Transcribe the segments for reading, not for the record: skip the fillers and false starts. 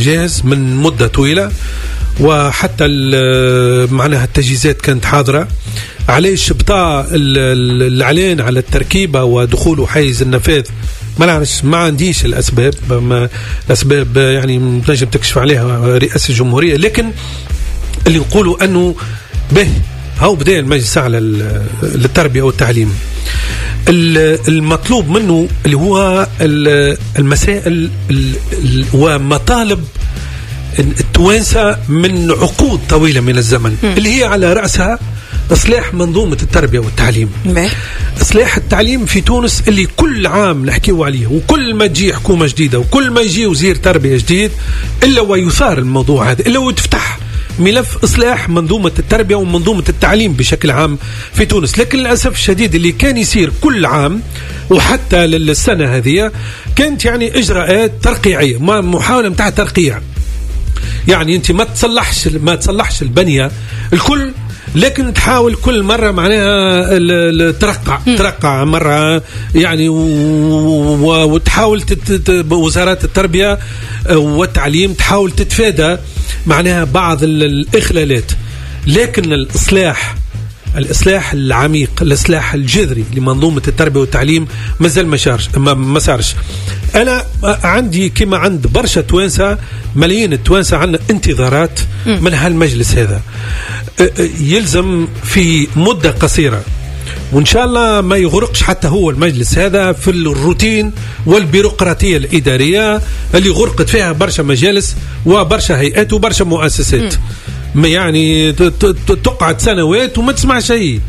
جاهز من مدة طويلة، وحتى معناها التجهيزات كانت حاضرة. علاش بطا الإعلان على التركيبة ودخوله حيز النفاذ؟ ما نعرفش، ما عنديش الأسباب، الأسباب يعني تنجم تكشف عليها رئاسة الجمهورية، لكن اللي نقولوا أنه به هو بدأ المجلس على للتربية والتعليم. المطلوب منه اللي هو المسائل ومطالب التوانسة من عقود طويلة من الزمن، اللي هي على رأسها إصلاح منظومة التربية والتعليم. إصلاح التعليم في تونس اللي كل عام نحكيو عليه، وكل ما تجي حكومة جديدة وكل ما يجي وزير تربية جديد إلا ويثار الموضوع هذا، إلا وتفتح ملف إصلاح منظومة التربية ومنظومة التعليم بشكل عام في تونس. لكن للأسف الشديد اللي كان يصير كل عام وحتى للسنة هذه كانت يعني إجراءات ترقيعية، محاولة متاع ترقيع، يعني أنت ما تصلحش البنية الكل، لكن تحاول كل مرة معناها ترقع مرة يعني، وتحاول وزارات التربية والتعليم تحاول تتفادى معناها بعض الإخلالات. لكن الإصلاح العميق، الإصلاح الجذري لمنظومة التربية والتعليم مازال ما صارش. أنا عندي كما عند برشا توانسة، ملايين التوانسة عندنا انتظارات من هالمجلس هذا، يلزم في مدة قصيرة وإن شاء الله ما يغرقش حتى هو المجلس هذا في الروتين والبيروقراطية الإدارية اللي غرقت فيها برشا مجالس وبرشا هيئات وبرشا مؤسسات. ما يعني تقعد سنوات وما تسمع شيء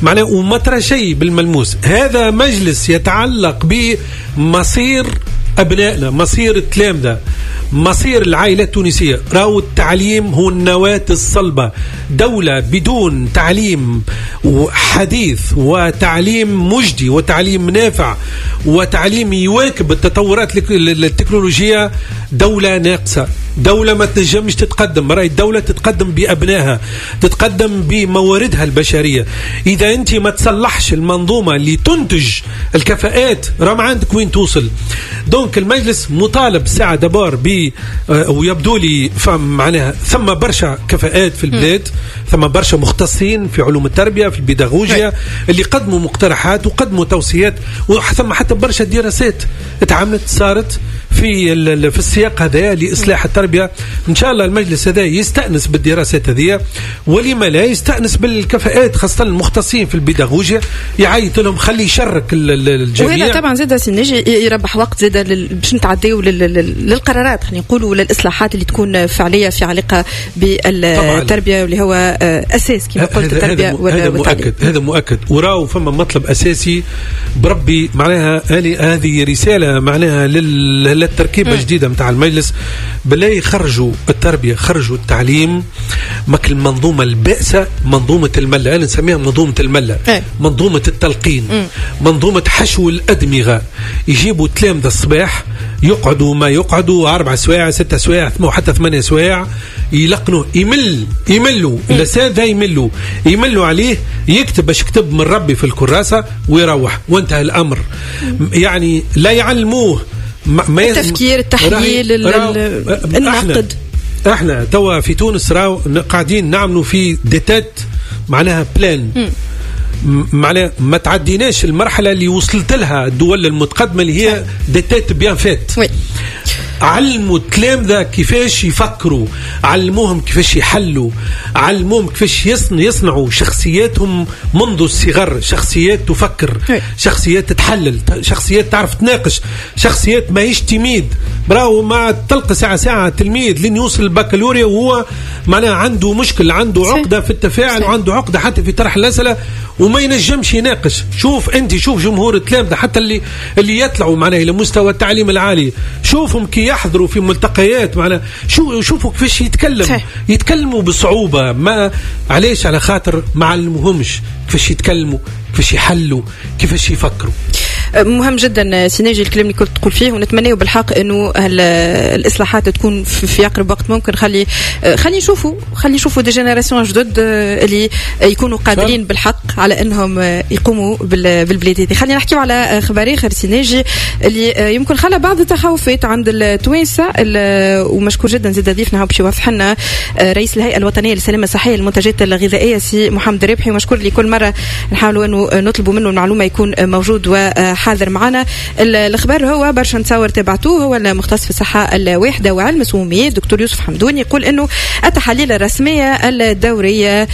معناه وما ترى شيء بالملموس. هذا مجلس يتعلق بمصير أبنائنا، مصير التلامذة، مصير العائلة التونسية. راهو التعليم هو النواة الصلبة. دولة بدون تعليم حديث وتعليم مجدي وتعليم نافع وتعليم يواكب التطورات التكنولوجية دولة ناقصة، دولة ما تنجمش تتقدم. رأي الدولة تتقدم بأبنائها، تتقدم بمواردها البشرية. إذا أنت ما تصلحش المنظومة اللي تنتج الكفاءات راه ما عندك وين توصل. donc المجلس مطالب ساعة d'abord ب ويبدو لي معناها ثم برشا كفاءات في البلاد، ثم برشا مختصين في علوم التربية، في البيداغوجيا، اللي قدموا مقترحات وقدموا توصيات، وثم حتى برشا دراسات اتعملت صارت في السياق هذا لإصلاح التربية. إن شاء الله المجلس هذا يستأنس بالدراسات هذه، ولما لا يستأنس بالكفاءات خاصة المختصين في البيداغوجيا، يعيط لهم، خلي يشرك الجميع. وهذا طبعا زاد سي ناجي يربح وقت زاد باش نتعداو للقرارات، خلينا نقولوا للإصلاحات اللي تكون فعلية في علاقة بالتربية، واللي هو أساس كما قلت التربية والتعليم. هذا مؤكد. وراو فما مطلب أساسي بربي معناها، هذه رسالة معناها للتركيبة الجديدة متاع المجلس، بالله يخرجوا التربية، خرجوا التعليم مك المنظومة البائسة، منظومة الملة، أنا نسميها منظومة الملة، منظومة التلقين، منظومة حشو الأدمغة. يجيبوا تلامذة الصباح يقعدوا ما يقعدوا 4 سوايع 6 سوايع حتى 8 سوايع، يلقنوا، يملوا الأساتذة، يملوا عليه، يكتب باش يكتب من ربي في الكراسة ويروح وانتهى الأمر. يعني لا يعلموه التفكير، التحليل، النقد. احنا توا في تونس راو قاعدين نعملوا في des têtes معناها pleines، معناها ما تعديناش المرحلة اللي وصلت لها الدول المتقدمة اللي هي des têtes bien faites. علموا التلامذة كيفاش يفكروا، علموهم كيفاش يحلوا، علموهم كيفاش يصنعوا شخصياتهم منذ الصغر، شخصيات تفكر، شخصيات تتحلل، شخصيات تعرف تناقش، شخصيات ماهيش timide. براو ما تلقى ساعة ساعة تلميذ لين يوصل البكالوريا وهو معناها عنده مشكل، عنده عقدة في التفاعل، وعنده عقدة حتى في طرح الأسئلة وما ينجمش يناقش. شوف أنت، شوف جمهور التلامذة حتى اللي يطلعوا معناها إلى مستوى التعليم العالي، شوفهم كي يحضروا في ملتقيات معناها، شوفوا كيفاش يتكلم، يتكلموا بصعوبة. ما علاش؟ على خاطر ما علموهمش كيفاش يتكلموا، كيفاش يحلوا، كيفاش يفكروا. مهم جدا سي ناجي الكلام اللي كنت تقول فيه، ونتمنى بالحق انه الاصلاحات تكون في اقرب وقت ممكن. خلي خلي نشوفوا des générations جدد اللي يكونوا قادرين بالحق على انهم يقوموا بالبلاد هذه. خلينا نحكيو على خبر اخر سي ناجي اللي يمكن خلى بعض التخوفات عند التوانسة، ومشكور جدا زاد ضيفنا باش يوضح لنا رئيس الهيئة الوطنية للسلامة الصحية للمنتجات الغذائية سي محمد الرابحي، ومشكور لكل مرة نحاولوا انه نطلبوا منه المعلومة يكون موجود وحاضر معنا. الخبر هو برشا نتصور تبعتوه، هو المختص في الصحة الواحدة وعلم السموميات دكتور يوسف حمدوني يقول انه التحاليل الرسمية الدورية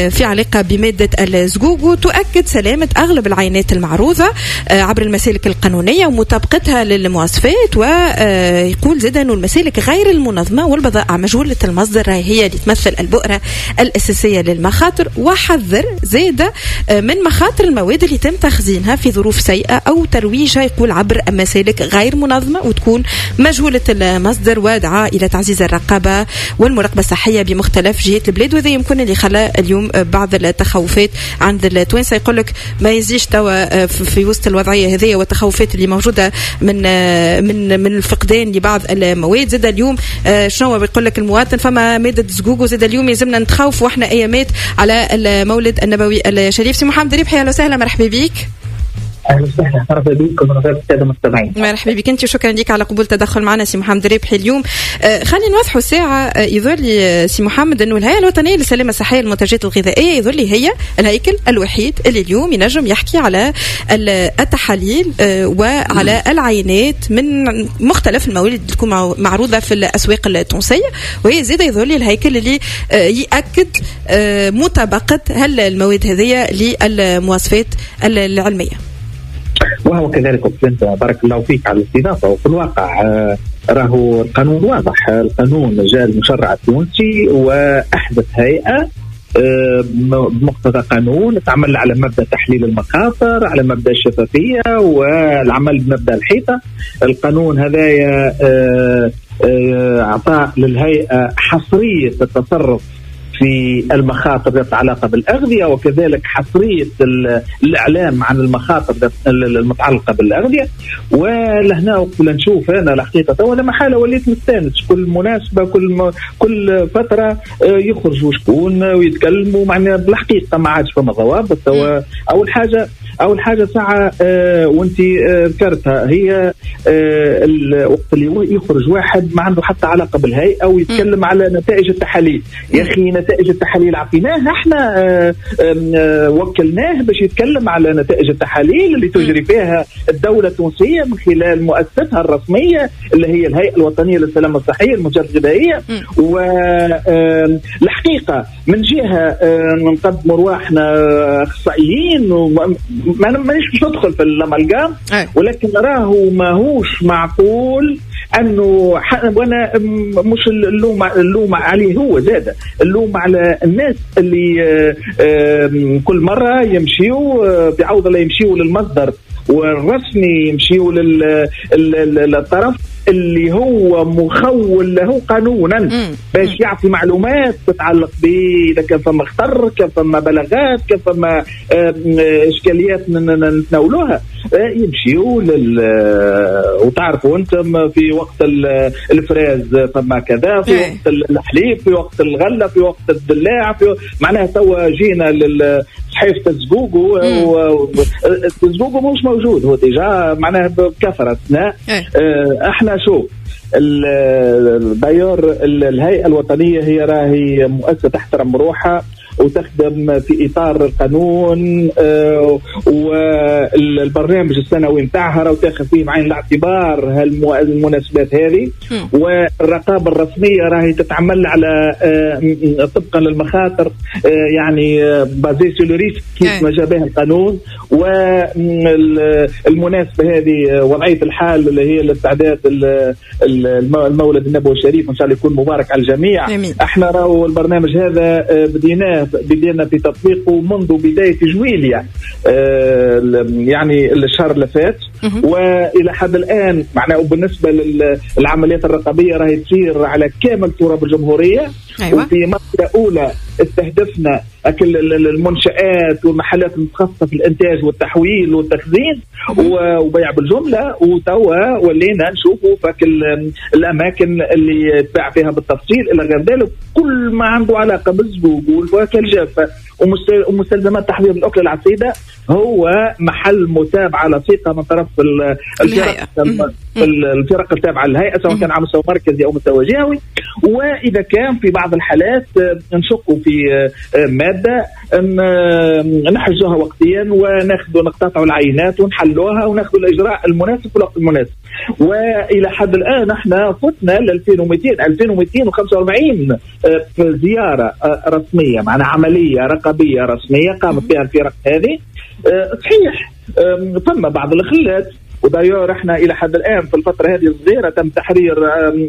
في علاقة بمادة الزقوقو تؤكد سلامه اغلب العينات المعروضة عبر المسالك القانونية ومطابقتها للمواصفات، ويقول زاد انه المسالك غير المنظمة والبضائع مجهولة المصدر هي اللي تمثل البؤره الاساسية للمخاطر، وحذر زاد من مخاطر المواد اللي تم تخزينها في ظروف سيئه او ترويجها يقول عبر مسالك غير منظمة وتكون مجهولة المصدر، ودعا الى تعزيز الرقابة والمراقبة الصحية بمختلف جهات البلاد. وهذا يمكن اللي خلى اليوم بعض التخوفات عند التوانسة، يقول لك ما يزيش توا في وسط الوضعية هذه والتخوفات اللي موجودة من الفقدان لبعض المواد. زاد اليوم شنو بيقول لك المواطن، فما مادة زقوقو زاد اليوم يلزمنا نتخوف واحنا ايامات على المولد النبوي الشريف. سي محمد ربحي اهلا وسهلا، مرحبا بك. اهلا وسهلا، مرحبا بكم ومرحبا بالساده المستمعين. مرحبا بك انت وشكرا لك على قبول التدخل معنا سي محمد ربحي اليوم. خلينا نوضحوا ساعة، يظهر لي سي محمد انه الهيئة الوطنية للسلامة الصحية للمنتجات الغذائية يظهر لي هي الهيكل الوحيد اللي اليوم ينجم يحكي على التحاليل وعلى العينات من مختلف المواد اللي تكون معروضة في الاسواق التونسية، وهي زاده يظهر لي الهيكل اللي ياكد مطابقه هل المواد هذه للمواصفات العلمية. وهو كذلك أنت بارك الله فيك على الاستضافة. وفي الواقع راهو القانون واضح، القانون جاء المشرع التونسي وأحدث هيئة بمقتضى قانون تعمل على مبدأ تحليل المخاطر، على مبدأ الشفافية والعمل بمبدأ الحيطة. القانون هذايا أعطى للهيئة حصرية التصرف في المخاطر ذات علاقة بالأغذية، وكذلك حصرية الإعلام عن المخاطر المتعلقة بالأغذية. ولهنا وقت نشوف أنا الحقيقة تو أنا محالة وليت مستانس، كل مناسبة كل فترة يخرجوا شكون ويتكلموا، معناها بالحقيقة ما عادش فما ضوابط. أول حاجة ساعة وأنت ذكرتها هي وقت اللي يخرج واحد ما عنده حتى علاقة بالهيئة ويتكلم على نتائج التحاليل. يا أخي نتائج التحاليل عطيناها احنا، وكلناه باش يتكلم على نتائج التحاليل اللي تجري فيها الدولة التونسية من خلال مؤسستها الرسمية اللي هي الهيئة الوطنية للسلامة الصحية للمنتجات الغذائية. والحقيقة من جهة نقدموا رواحنا أخصائيين مانيش باش ندخل في الأمالجام، ولكن راهو ماهوش معقول انه وانا مش اللوم عليه هو زاد، اللوم على الناس اللي كل مرة يمشيوا بعوض لا يمشيوا للمصدر والرسمي، يمشيوا للطرف اللي هو مخول له قانونا باش يعطي معلومات تتعلق به اذا كان فما خطر، كان فما بلاغات، كان فما اشكاليات نتناولوها، يمشيوا وتعرفوا انتم في وقت الفراز فما كذا، في وقت الحليب، في وقت الغلة، في وقت الدلاع، في معناها توا جينا لصحيفة الزقوقو، الزقوقو مش موجود هو déjà معناها بكثرة. احنا شوف d'ailleurs الهيئة الوطنية هي راهي مؤسسة تحترم روحها وتخدم في اطار القانون، والبرنامج السنوي نتاعها راهو تاخذ فيه بعين الاعتبار المناسبات هذه، والرقابه الرسمية راهي تتعمل على طبقا للمخاطر، يعني basé sur le risque كيف ما جابها القانون. والمناسبة هذه وضعية الحال اللي هي الاستعداد المولد النبوي الشريف، ان شاء الله يكون مبارك على الجميع. احنا راهو البرنامج هذا بدينا في تطبيقه منذ بداية جويليا، يعني الشهر اللي فات، والى حد الان معناه بالنسبة للعمليات الرقابية راهي تصير على كامل تراب الجمهورية. أيوة. وفي مرحلة اولى استهدفنا المنشآت والمحلات المتخصصة في الإنتاج والتحويل والتخزين وبيع بالجملة، وتوا ولينا نشوفوا فك الأماكن اللي تباع فيها بالتفصيل إلى غير ذلك. كل ما عنده علاقة بالزقوق والفواكه الجافة ومستلزمات تحضير الأكلة العصيدة هو محل متابعة لصيقة من طرف الفرق التابعة للهيئة، سواء كان على مستوى مركزي أو مستوى جهوي. وإذا كان في بعض الحالات نشقوا في مادة نحجزوها وقتيا وناخذ نقتطع العينات ونحلوها وناخذ الإجراء المناسب في الوقت المناسب. وإلى حد الآن احنا فتنا ل 2245 زيارة رسمية، معنا عملية رقابية رسمية قامت بها الفرق هذه. صحيح ثم بعض الخلات، ودايور احنا الى حد الان في الفترة هذه الصغيرة تم تحرير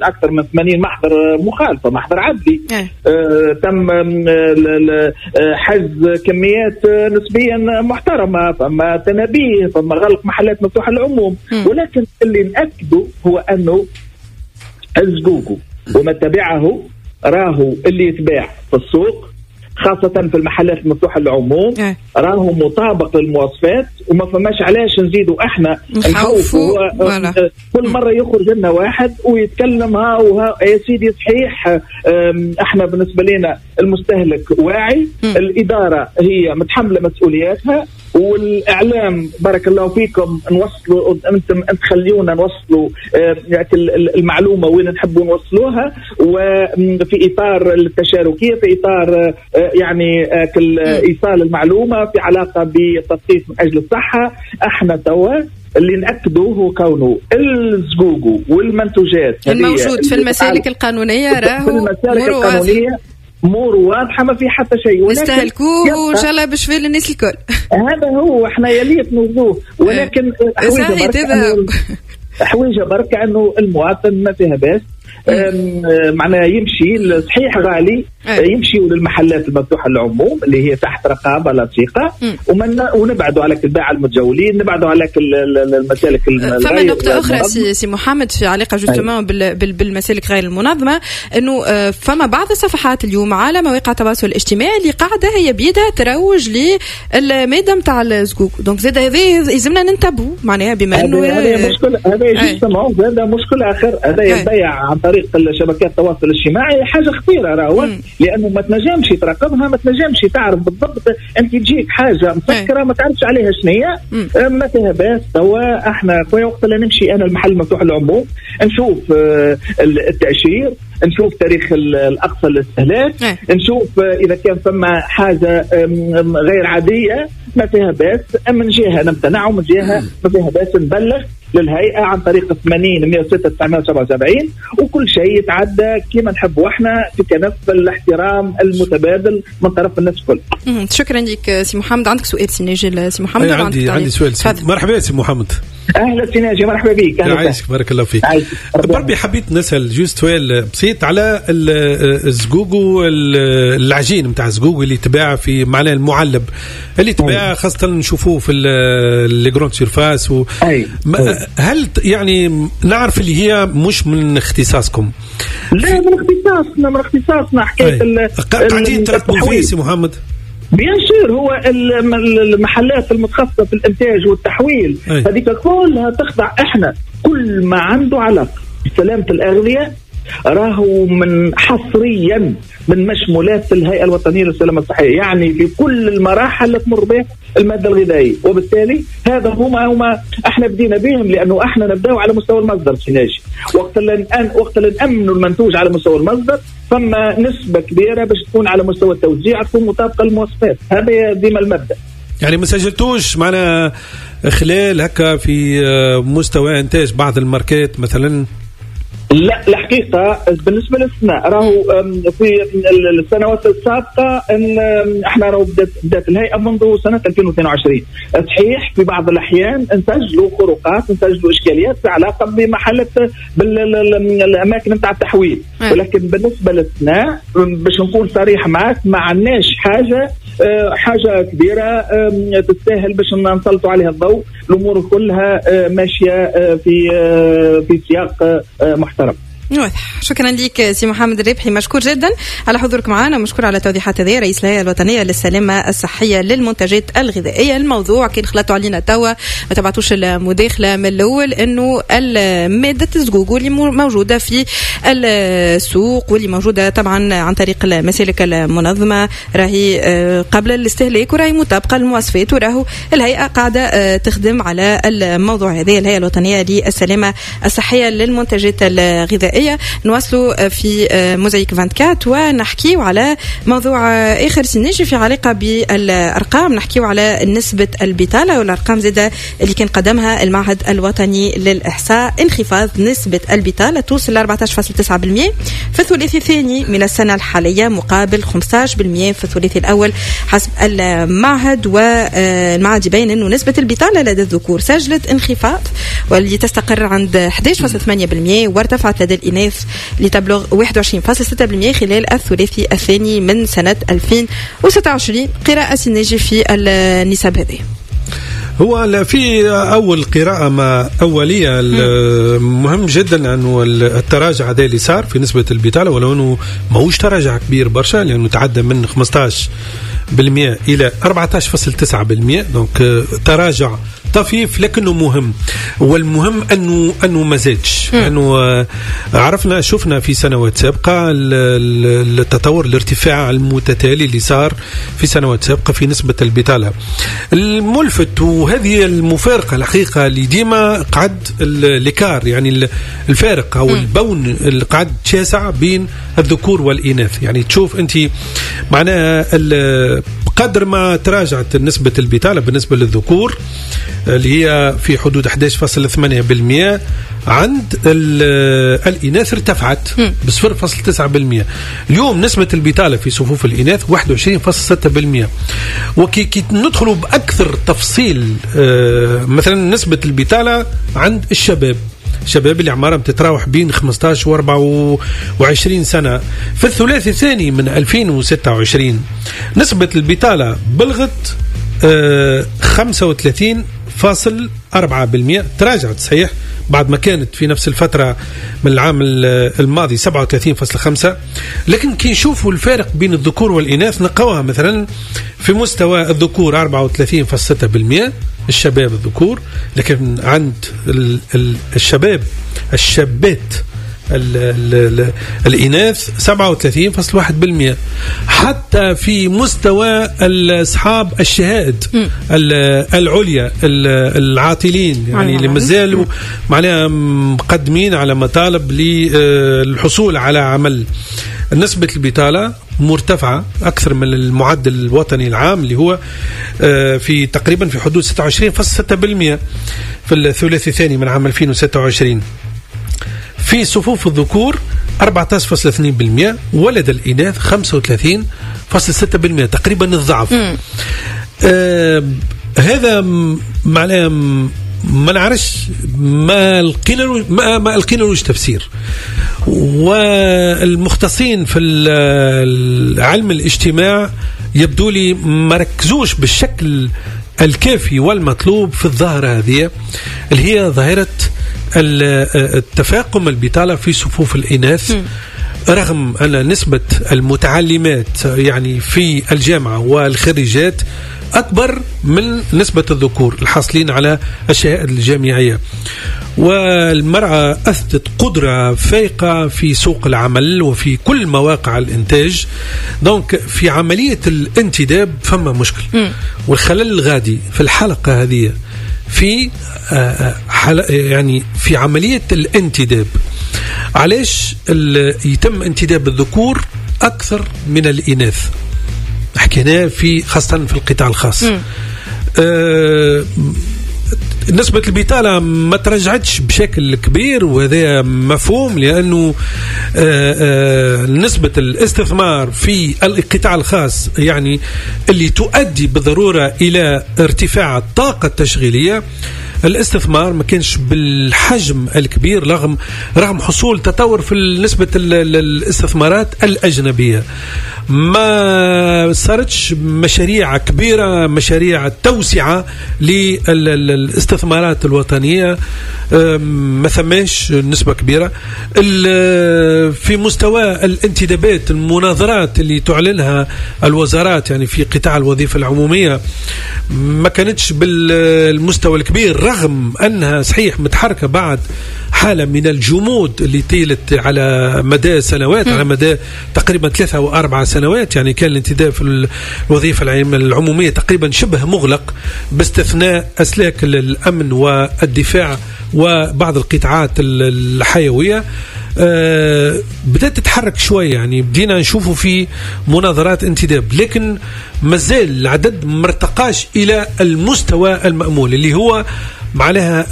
اكثر من 80 محضر مخالفة، محضر عدلي. تم حجز كميات نسبيا محترمه، فما تنابيه، فما غلق محلات مفتوحة للعموم. ولكن اللي ناكده هو انه الزقوقو وما تبعه راهو اللي يتباع في السوق خاصة في المحلات المفتوحة للعموم راهو مطابق للمواصفات، وما فماش علاش نزيدوا احنا نخوفوا. كل مرة يخرج لنا واحد ويتكلم ها وها يا سيدي. صحيح احنا بالنسبة لنا المستهلك واعي، الإدارة هي متحملة مسؤولياتها، والإعلام بارك الله فيكم نوصلوا، أنتم تخليونا نوصلوا المعلومة وين نحبوا نوصلوها، وفي إطار التشاركية، في إطار يعني إيصال المعلومة في علاقة بالتثقيف من أجل الصحة. احنا توا اللي نأكده هو كونه الزقوقو والمنتوجات الموجود في المسالك القانونية راهو في المسالك القانونية امور واضحة، ما في حتى شيء، نستهلكوه وان شاء الله باش في للناس الكل. هذا هو احنا يليق نوضوه، ولكن حويجه بركة انه المواطن ما فيها باس، معناها يمشي صحيح غالي، يمشي للمحلات المفتوحة للعموم اللي هي تحت رقابه لصيقه، ونبعدوا على الباعة المتجولين، نبعدوا على المسالك. فما نقطة اخرى سي محمد في علاقة justement بالمسالك غير المنظمة، انه فما بعض الصفحات اليوم على مواقع التواصل الاجتماعي اللي قاعدة هي بيدها تروج للمادة نتاع الزقوق، donc زاد هذا يلزمنا ننتبهوا معناها، بما انه هذا مشكل، هذا مشكل اخر، هذا يبيع عن طريق شبكات التواصل الاجتماعي حاجة خطيرة راهو، لانه ما تنجمش تراقبها، ما تنجمش تعرف بالضبط، انت تجيك حاجة مسكره ما تعرفش عليها شنية، ما فيها باس. توا احنا خويا وقت اللي نمشي انا المحل مفتوح للعموم نشوف التاشير، نشوف تاريخ الاقصى للاستهلاك، نشوف اذا كان فما حاجة غير عادية ما فيها باس، من جهة نمتنع ومن جهة ما فيها باس نبلغ للهيئة عن طريق 80 106 977، وكل شيء يتعدى كما نحبوا احنا في كنف الاحترام المتبادل من طرف الناس الكل. شكرا لك سي محمد. عندك سؤال سي ناجي؟ سي محمد عندي سؤال. مرحبا سي محمد. اهلا سي ناجي، مرحبا بك. عايشك، بارك الله فيك. بربي حبيت نسال juste سؤال بسيط على الزقوقو، العجين نتاع الزقوقو اللي تباع في معناه المعلب اللي تباع خاصة نشوفوه في les grandes surfaces هل يعني نعرف اللي هي مش من اختصاصكم؟ لا، من اختصاصنا، من اختصاصنا حكاية قاعدين تراقبوا فيه سي محمد؟ bien sûr، هو المحلات المتخصصة في الانتاج والتحويل هذيك كلها تخضع. احنا كل ما عنده علاقة بسلامه الاغذية راهو من حصريا من مشمولات الهيئة الوطنية للسلامة الصحية، يعني في كل المراحل اللي تمر بها المادة الغذائية، وبالتالي هذا هما احنا بدينا بهم، لانه احنا نبداو على مستوى المصدر سي ناجي. وقت اللي نامنوا المنتوج على مستوى المصدر فما نسبه كبيرة باش تكون على مستوى التوزيع تكون مطابقه للمواصفات، هذا ديما المبدا. يعني ما سجلتوش معنا خلال هكا في مستوى انتاج بعض الماركات مثلا؟ لا، الحقيقة بالنسبة للسنة راهو في السنوات السابقة ان احنا راهو بدات الهيئة منذ سنة 2022. صحيح في بعض الأحيان نسجلوا خروقات، نسجلوا إشكاليات في علاقة بمحلة بالأماكن نتاع التحويل، ولكن بالنسبة للسنة باش نكون صريح معك ما عندناش حاجة كبيرة تستاهل باش نسلطوا عليها الضوء. الأمور كلها ماشية في سياق محترم. واضح. شكرا لك سي محمد الربحي، مشكور جدا على حضورك معنا، ومشكور على التوضيحات هذه، رئيس الهيئة الوطنية للسلامة الصحية للمنتجات الغذائية. الموضوع كان خلطوا علينا توا، ما تبعتوش المداخلة من الاول، انه مادة الزقوقو اللي موجودة في السوق واللي موجودة طبعا عن طريق المسالك المنظمة راهي قبل الاستهلاك وراهي مطابقه للمواصفات، وراهو الهيئة قاعدة تخدم على الموضوع هذا، الهيئة الوطنية للسلامة الصحية للمنتجات الغذائية. نواصلوا في موزايك 24 ونحكيو على موضوع اخر سنجي في علاقة بالارقام، نحكيو على نسبه البطالة والارقام زاده اللي كان قدمها المعهد الوطني للاحصاء. انخفاض نسبه البطالة توصل ل 14.9% في الثلاثي الثاني من السنة الحالية مقابل 15% في الثلاثي الاول حسب المعهد. والمعهد يبين انه نسبه البطالة لدى الذكور سجلت انخفاض واللي تستقر عند 11.8% وارتفعت لدى الإناث لتبلغ 21.6% خلال الثلاثي الثاني من سنة 2026. قراءة سناجي في النسب هذه. هو في أول قراءة ما أولية مهم جدا أنه التراجع هذا اللي صار في نسبة البطالة، ولو أنه ماهوش تراجع كبير برشا لأنه تعدى من 15% إلى 14.9%، donc تراجع طفيف لكنه مهم. والمهم انه ما زادش، لانه عرفنا شفنا في سنوات سابقه التطور الارتفاع المتتالي اللي صار في سنوات سابقه في نسبه البطالة. الملفت وهذه المفارقة الحقيقة اللي ديما قعد l'écart، يعني الفارق او ال bond اللي قعد شاسع بين الذكور والاناث. يعني تشوف انت معناها بقدر ما تراجعت نسبه البطالة بالنسبة للذكور اللي هي في حدود 11.8%، عند الإناث ارتفعت ب 0.9%. اليوم نسبة البطالة في صفوف الإناث 21.6%. وكي ندخلوا بأكثر تفصيل، مثلا نسبة البطالة عند الشباب، الشباب اللي أعمارهم تتراوح بين 15 و 24 سنة، في الثلاثي الثاني من 2026 نسبة البطالة بلغت 35.4%، تراجعت صحيح بعد ما كانت في نفس الفترة من العام الماضي 37.5. لكن كي نشوفوا الفارق بين الذكور والإناث نلقاوها مثلا في مستوى الذكور 34.6% الشباب الذكور، لكن عند الشباب الشابات الإناث 37.1%. حتى في مستوى أصحاب الشهائد العليا العاطلين، يعني اللي مازالوا معناها مقدمين على مطالب للحصول على عمل، نسبة البطالة مرتفعة أكثر من المعدل الوطني العام اللي هو في تقريبا في حدود 26.6% في الثلاثي الثاني من عام 2026. في صفوف الذكور 14.2% ولدى الإناث 35.6%، تقريبا الضعف. هذا معناه ما نعرفش، ما لقينا لوش تفسير. والمختصين في علم الاجتماع يبدو لي ما ركزوش بالشكل الكافي والمطلوب في الظاهرة هذه اللي هي ظاهرة التفاقم البطالة في صفوف الإناث، رغم أن نسبة المتعلمات يعني في الجامعة والخريجات أكبر من نسبة الذكور الحاصلين على الشهادة الجامعية. والمرأة أثبتت قدرة فائقة في سوق العمل وفي كل مواقع الإنتاج، دونك في عملية الانتداب فما مشكل. والخلل الغادي في الحلقة هذه في يعني في عملية الانتداب، علاش يتم انتداب الذكور أكثر من الإناث؟ حكيناه في خاصة في القطاع الخاص. نسبة البطالة ما ترجعتش بشكل كبير، وهذا مفهوم لأنه نسبة الاستثمار في القطاع الخاص يعني اللي تؤدي بالضرورة إلى ارتفاع الطاقة التشغيلية الاستثمار ما كانش بالحجم الكبير رغم حصول تطور في نسبة الاستثمارات الأجنبية. ما صارتش مشاريع كبيرة، مشاريع توسعة للاستثمارات الوطنية، ما ثماش نسبة كبيرة. في مستوى الانتدابات، المناظرات اللي تعلنها الوزارات يعني في قطاع الوظيفة العمومية ما كانتش بالمستوى الكبير، رغم أنها صحيح متحركة بعد حالة من الجمود اللي طيلت على مدى سنوات، على مدى تقريبا 3 أو 4 سنوات. يعني كان الانتداب في الوظيفة العمومية تقريبا شبه مغلق باستثناء أسلاك الأمن والدفاع وبعض القطاعات الحيوية. بدأت تتحرك شوية، يعني بدينا نشوفه في مناظرات انتداب، لكن مازال العدد مرتقاش إلى المستوى المأمول اللي هو معناها.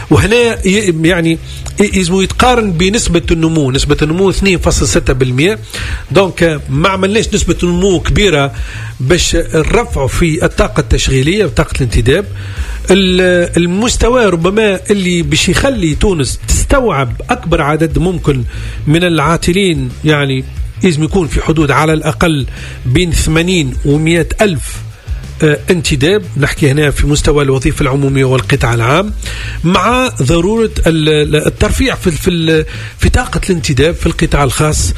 وهنا يعني يزمو يتقارن بنسبة النمو، نسبة النمو 2.6%. donc ما عملناش نسبة نمو كبيرة باش نرفعوا في الطاقة التشغيلية وطاقة الانتداب. المستوى ربما اللي باش يخلي تونس تستوعب أكبر عدد ممكن من العاطلين يعني لازم يكون في حدود على الأقل بين 80 و100 ألف انتداب، نحكي هنا في مستوى الوظيفة العمومية والقطاع العام، مع ضرورة الترفيع في في طاقة الانتداب في القطاع الخاص.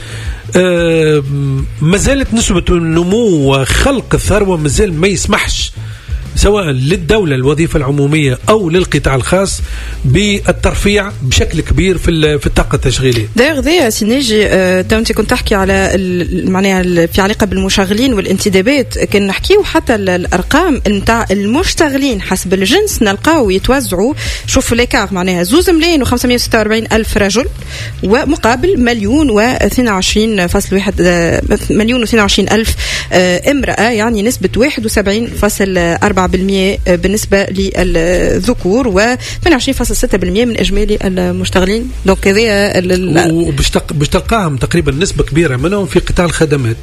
ما زالت نسبة النمو وخلق الثروة مازال ما يسمحش سواء للدولة الوظيفة العمومية أو للقطاع الخاص بالترفيع بشكل كبير في الطاقة التشغيلية. دايوغ ذي سي ناجي، انت كنت تحكي على معناها في علاقة بالمشغلين والانتدابات، كان نحكيو حتى الأرقام نتاع المشتغلين حسب الجنس نلقاو يتوزعوا، شوفوا l'écart معناها 2,546,000 رجل ومقابل 1,022.1 1,022,000 امرأة، يعني نسبة 71.4% بالنسبة للذكور و 28.6% من إجمالي المشتغلين. donc هذا وباش تلقاهم تقريبا نسبة كبيرة منهم في قطاع الخدمات.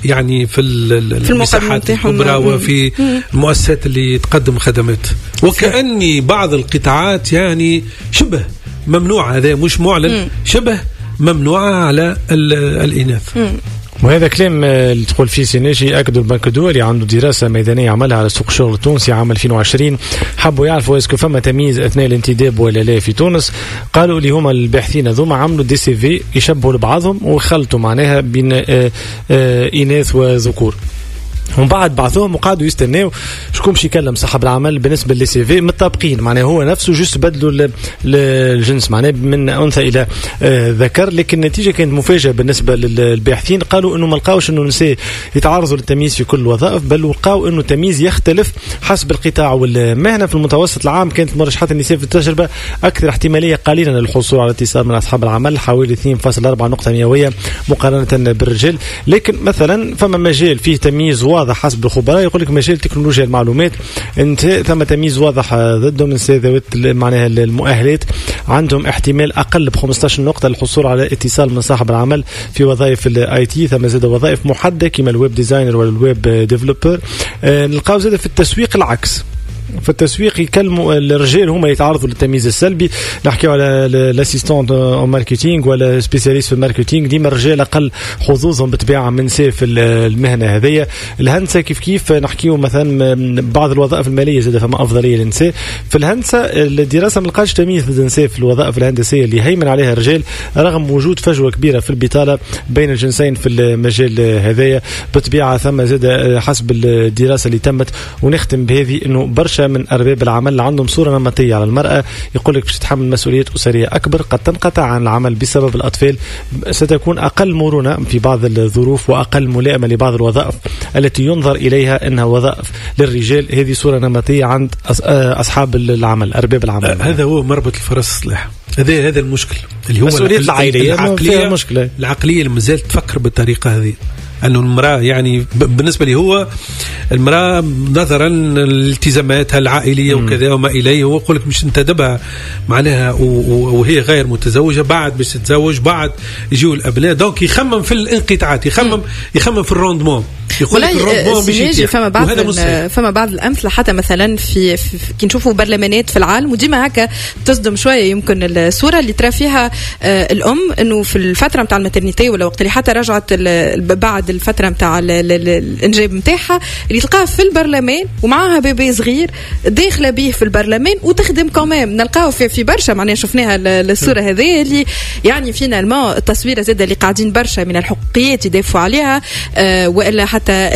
يعني في المساحات الكبرى وفي المؤسسات اللي تقدم خدمات، وكأني بعض القطاعات يعني شبه ممنوعة، هذا مش معلن، شبه ممنوعة على الإناث. وهذا كلام اللي تقول فيه سي ناجي أكدوا البنك الدولي، عنده دراسة ميدانية عملها على سوق الشغل التونسي عام 2020، حبوا يعرفوا est-ce que فما تمييز أثناء الانتداب ولا لا في تونس. قالوا اللي هما الباحثين هذوما عملوا des CV يشبهوا لبعضهم وخلطوا معناها بين إناث وذكور، ومن بعد بعثوهم وقعدوا يستناو شكون باش يكلم صاحب العمل بالنسبة les CV متطابقين، معناها هو نفسه juste بدلوا الجنس معناها من انثى الى ذكر. لكن النتيجة كانت مفاجاة بالنسبة للباحثين، قالوا انه ما لقاوش انه النساء يتعرضوا للتمييز في كل الوظائف، بل لقاو انه التمييز يختلف حسب القطاع والمهنه. في المتوسط العام كانت مرشحات النساء في التجربة اكثر احتمالية قليلا للحصول على اتصال من اصحاب العمل، حوالي 2.4 نقطة مئوية مقارنة بالرجال. لكن مثلا فما مجال فيه تمييز واضح حسب الخبراء، يقول لك مجال تكنولوجيا المعلومات انت ثم تمييز واضح ضدهم، النساء ذوات معناها المؤهلات عندهم احتمال اقل ب 15 نقطة للحصول على اتصال من صاحب العمل في وظائف ال IT. ثم زاد وظائف محددة كما ال web designer ولا ال web developer. نلقاو زاد في التسويق العكس، في التسويق يكلموا الرجال هما يتعرضوا للتمييز السلبي. نحكيو على l'assistant en marketing ولا spécialiste في ال marketing، ديما الرجال اقل حظوظهم بالطبيعة من نساء في المهنة هذيا. الهندسة كيف كيف، نحكيو مثلا بعض الوظائف المالية زاد فما افضلية للنساء. في الهندسة الدراسة ما لقاش تمييز ضد النساء في الوظائف الهندسية اللي هيمن عليها الرجال، رغم وجود فجوة كبيرة في البطالة بين الجنسين في المجال هذايا. بالطبيعة ثم زاد حسب الدراسة اللي تمت، ونختم بهذه، انه برشا من أرباب العمل عندهم صورة نمطية على المرأة، يقول لك باش تتحمل مسؤوليات أسرية أكبر، قد تنقطع عن العمل بسبب الأطفال، ستكون أقل مرونة في بعض الظروف وأقل ملائمة لبعض الوظائف التي ينظر إليها أنها وظائف للرجال. هذه صورة نمطية عند أصحاب العمل، أرباب العمل. هذا هو مربط الفرس صلاح، هذا المشكل اللي هو مسؤولية العائلية، العقلية اللي مازالت تفكر بالطريقة هذه، أنه المرأة يعني بالنسبة لي هو المرأة نظرا لالتزاماتها العائلية وكذا وما إليه، هو يقول لك مش انتدبها معناها وهي غير متزوجة، بعد باش تتزوج، بعد يجيو الأبناء، donc يخمم في الانقطاعات، يخمم في ال rendement. يقول لك ال rendement باش يطيح. فما بعض الامثلة حتى مثلا في كي نشوفوا برلمانات في العالم، وديما هكا تصدم شوية يمكن الصورة اللي ترى فيها الام انه في الفترة نتاع ال maternité ولا وقت اللي حتى رجعت بعد الفترة نتاع الانجاب نتاعها، اللي تلقاها في البرلمان ومعاها bébé صغير داخله به في البرلمان وتخدم quand même. نلقاو في برشا معناها شفناها الصورة هذه اللي يعني finalement التصويره زاده اللي قاعدين برشا من الحقوقيات يدافعوا عليها، والا حتى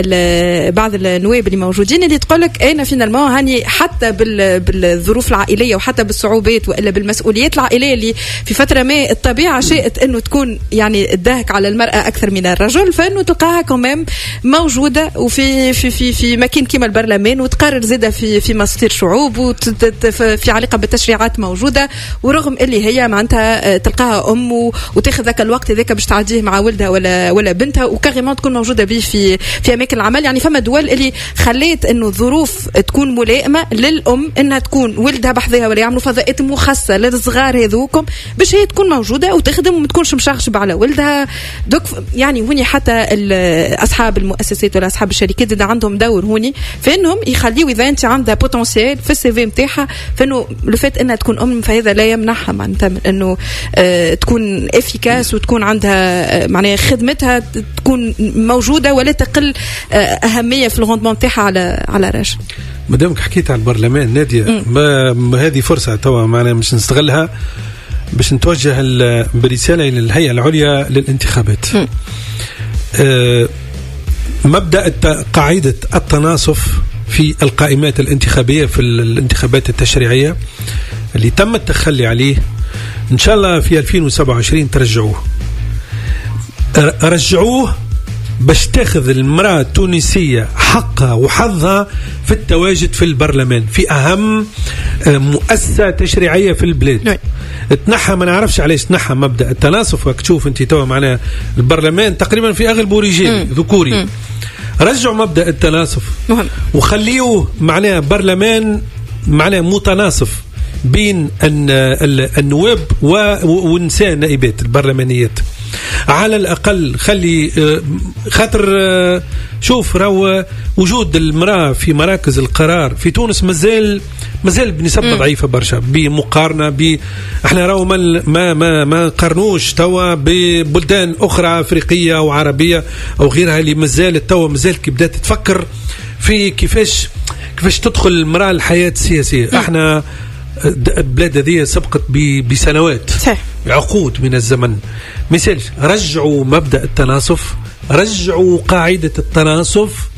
بعض النواب اللي موجودين اللي تقول لك انا finalement هاني حتى بالظروف العائلية وحتى بالصعوبات والا بالمسؤوليات العائلية اللي في فترة ما الطبيعة شاءت انه تكون يعني الدهك على المراة اكثر من الرجل، فانه تلقاها quand même موجودة وفي في في في مكان كيما البرلمان، وتقرر زاده في مصير شعوب وفي علاقة بالتشريعات موجودة، ورغم اللي هي معناتها تلقاها ام وتاخذ ذاك الوقت هذاك باش تعديه مع ولدها ولا بنتها، و carrément تكون موجودة به في اماكن العمل. يعني فما دول اللي خليت انه الظروف تكون ملائمه للام انها تكون ولدها بحذاها ولا يعملوا فضاءات مخصصة للصغار هذوكم باش هي تكون موجودة وتخدم وما تكونش مشغشبه على ولدها. donc يعني هوني حتى اصحاب المؤسسات ولا اصحاب الشركات عندهم دور هوني فانهم يخليوا اذا انت عندها potentiel في ال CV نتاعها، فانه le fait انها تكون ام فهذا لا يمنعها معناتها من انه تكون efficace وتكون عندها معناها خدمتها تكون موجودة ولا تقل اهمية في ال rendement نتاعها على راجل. مادامك حكيت على البرلمان ناديه، ما هذه فرصة توا معنا مش نستغلها باش نتوجه برسالة الى الهيئة العليا للانتخابات. مبدا قاعدة التناصف في القائمات الانتخابية في الانتخابات التشريعية اللي تم التخلي عليه، ان شاء الله في 2027 ترجعوه. رجعوه باش تاخذ المرأة التونسية حقها وحظها في التواجد في البرلمان في أهم مؤسسة تشريعية في البلاد. تنحى، ما نعرفش علاش تنحى مبدأ التناصف. وقت تشوف انت توا معناها البرلمان تقريبا في أغلبه رجال ذكوري. رجعوا مبدأ التناصف وخليوه معناها برلمان معناها متناصف بين النواب والنساء النائبات البرلمانيات. على الأقل خلي خاطر شوف راهو وجود المرأة في مراكز القرار في تونس مازال بنسبة ضعيفة برشا بمقارنة احنا راهو ما ما ما نقارنوش توا ببلدان أخرى أفريقية وعربية أو غيرها اللي مازالت توا مازالت كي بدات تفكر في كيفاش تدخل المرأة الحياة السياسية. احنا البلاد هذه سبقت بسنوات، صحيح، عقود من الزمن. مثال رجعوا مبدأ التناصف، رجعوا قاعدة التناصف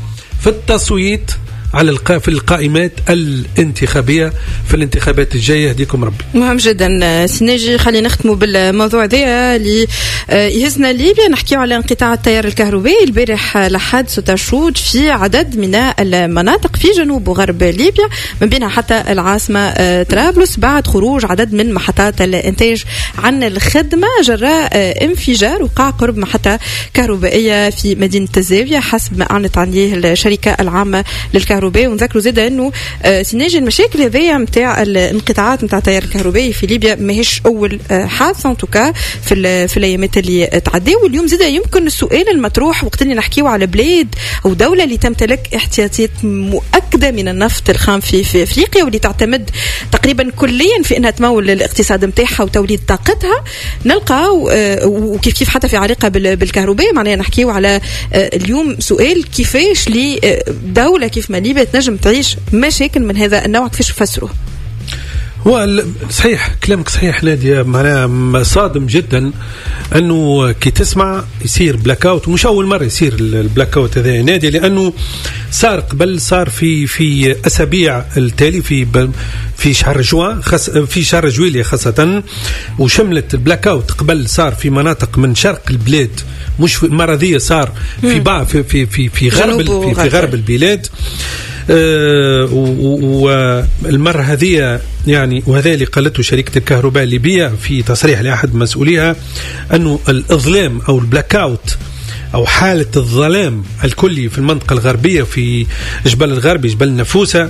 في التصويت على في القائمات الانتخابية في الانتخابات الجاية. يهديكم ربي. مهم جدا سناجي، خلينا نختموا بالموضوع ذا اللي يهزنا ليبيا. نحكيو على انقطاع التيار الكهربائي البارح لحد 6 في عدد من المناطق في جنوب وغرب ليبيا، من بينها حتى العاصمة طرابلس، بعد خروج عدد من محطات الإنتاج عن الخدمة جراء انفجار وقع قرب محطة كهربائية في مدينة الزاوية حسب ما أعلنت عليه الشركة العامة للكهرباء. ونذكروا زاد انه سناجي المشاكل هذيا نتاع الانقطاعات نتاع التيار الكهربائي في ليبيا ماهيش اول حادثه en tout cas في الايامات اللي تعداو. واليوم زاد يمكن السؤال المطروح وقت اللي نحكيو على بلاد او دولة اللي تمتلك احتياطات مؤكدة من النفط الخام في افريقيا واللي تعتمد تقريبا كليا في انها تمول الاقتصاد نتاعها وتوليد طاقتها، نلقاو وكيف كيف حتى في علاقة بالكهرباء. معناها نحكيو على اليوم سؤال كيفاش لدولة كيف ما ليبيا تنجم تعيش مشاكل من هذا النوع، كيفاش نفسروه؟ هو صحيح كلامك صحيح نادية، معناها صادم جدا انه كي تسمع يصير blackout، ومش اول مرة يصير ال blackout هذا نادية، لانه صار قبل، صار في اسابيع التالي في شهر جوان، في شهر جويلية خاصة، وشملت ال blackout قبل صار في مناطق من شرق البلاد، مش في المرة ذي صار في بعض في في في في غرب في غرب البلاد. والمرة هذه يعني، وهذا اللي قالته شركة الكهرباء الليبية في تصريح لأحد مسؤوليها، أنه الإظلام أو ال blackout أو حالة الظلام الكلي في المنطقة الغربية في جبل الغربي، جبل النفوسة،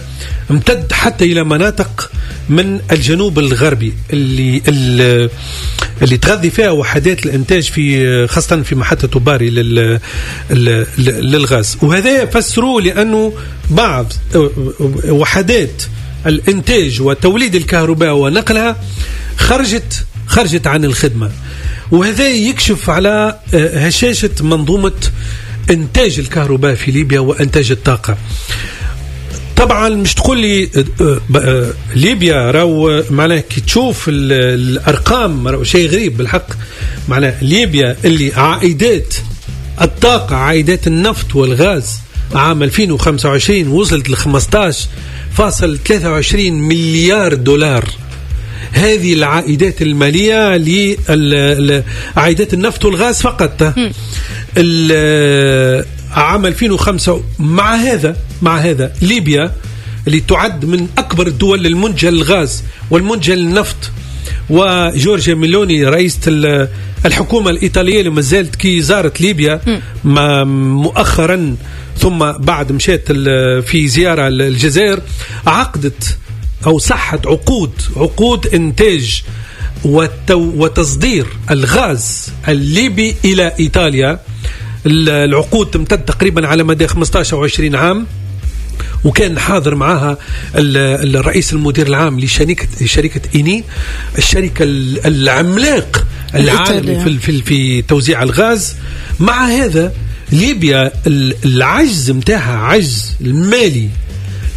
امتد حتى إلى مناطق من الجنوب الغربي اللي تغذي فيها وحدات الإنتاج في خاصة في محطة باري للغاز. وهذا فسروه لأنه بعض وحدات الإنتاج وتوليد الكهرباء ونقلها خرجت عن الخدمة، وهذا يكشف على هشاشة منظومة إنتاج الكهرباء في ليبيا وإنتاج الطاقة. طبعا مش تقول لي ليبيا راهو معناه كي تشوف الأرقام راهو شيء غريب بالحق. معناه ليبيا اللي عائدات الطاقة، عائدات النفط والغاز عام 2025 وصلت ل 15.23 مليار دولار. هذه العائدات المالية لعائدات النفط والغاز فقط عام 2005. مع هذا ليبيا اللي تعد من أكبر الدول المنتجة للغاز والمنتجة للنفط، وجورجيا ميلوني رئيسة الحكومة الإيطالية اللي ما زالت كي زارت ليبيا مؤخرا، ثم بعد مشات في زيارة للجزائر، عقدت أو صحت عقود إنتاج وتصدير الغاز الليبي إلى إيطاليا. العقود تمتد تقريبا على مدى 15 أو 20 عام، وكان حاضر معها الرئيس المدير العام لشركة إيني، الشركة العملاق العالمي في توزيع الغاز. مع هذا ليبيا العجز متاعها، عجز المالي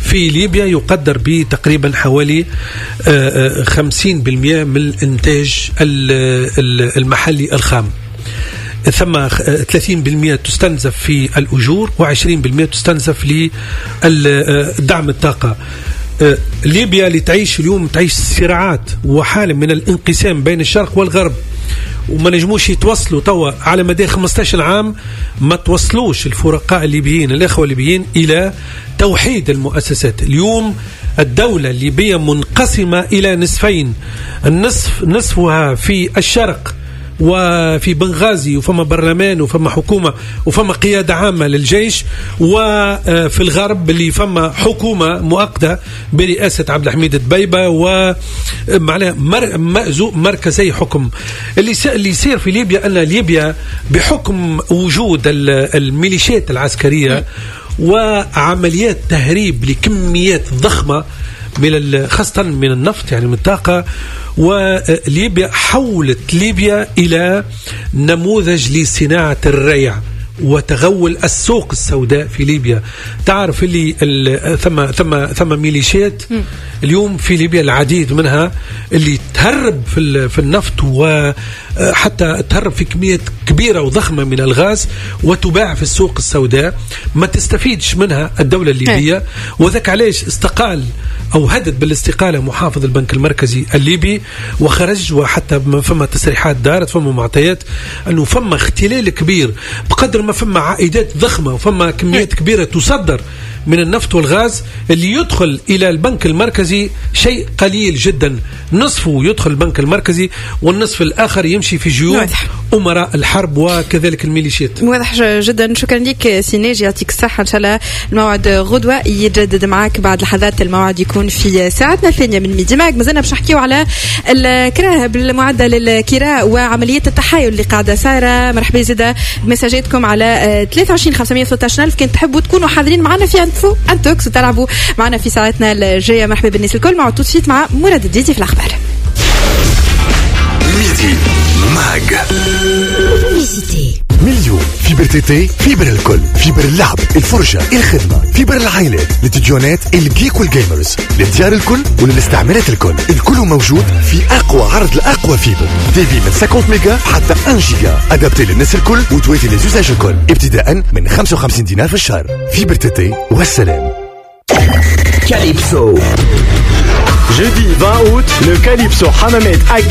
في ليبيا يقدر بتقريبا حوالي 50% من الإنتاج المحلي الخام، ثم 30% تستنزف في الأجور و20% تستنزف لدعم الطاقة. ليبيا اللي تعيش اليوم تعيش صراعات وحالة من الانقسام بين الشرق والغرب، وما نجموش يتوصلوا توا على مدى 15 عام، ما توصلوش الفرقاء الليبيين الإخوة الليبيين إلى توحيد المؤسسات. اليوم الدولة الليبية منقسمة إلى نصفين، النصف نصفها في الشرق وفي بنغازي وفما برلمان وفما حكومة وفما قيادة عامة للجيش، وفي الغرب اللي فما حكومة مؤقتة برئاسة عبد الحميد دبيبة، ومعناها مركزي حكم. اللي يصير في ليبيا أن ليبيا بحكم وجود الميليشيات العسكرية وعمليات تهريب لكميات ضخمة من خاصة من النفط، يعني من الطاقة، وليبيا حولت ليبيا إلى نموذج لصناعة الريع وتغول السوق السوداء في ليبيا. تعرف اللي ثم ميليشيات اليوم في ليبيا العديد منها اللي تهرب في النفط، وحتى تهرب في كميات كبيرة وضخمة من الغاز وتباع في السوق السوداء، ما تستفيدش منها الدولة الليبية. وذاك علاش استقال أو هدد بالاستقالة محافظ البنك المركزي الليبي وخرج، وحتى فما تصريحات دارت، فما معطيات أنه فما اختلال كبير بقدر ما فما عائدات ضخمة وفما كميات كبيرة تصدر من النفط والغاز، اللي يدخل إلى البنك المركزي شيء قليل جدا، نصفه يدخل البنك المركزي والنصف الآخر يمشي في جيوب أمراء الحرب وكذلك الميليشيات. واضح جدا. شكرا لك سي ناجي، يعطيك الصحة. إن شاء الله الموعد غدوة يتجدد معك بعد لحظات، الموعد يكون في ساعتنا الثانية من ميدي ماك. مازلنا باش نحكيو على الكراهب المعدة للكراء وعملية التحايل اللي قاعدة صايرة. مرحبا زادة بمساجاتكم على 23 513 ألف كان تحبوا تكونوا حاضرين معنا في intox وتلعبوا معنا في ساعتنا الجاية. مرحبا بالناس الكل. مع tout de suite مع مراد الديدي في الأخبار. ميدي ماج مليون fibre TT، fibre الكل، fibre اللعب، الفرجة، الخدمة، fibre العائلات، للتلفزيونات، ال geek وال gamers، للديار الكل وللاستعمالات الكل، الكل موجود في أقوى عرض لأقوى fibre، débit من 50 ميجا حتى 1 جيجا، adapté للناس الكل وتواتي les usages الكل، ابتداء من 55 دينار في الشهر. fibre TT والسلام. Calypso. Jeudi 20 août, le Calypso Hammamet accueille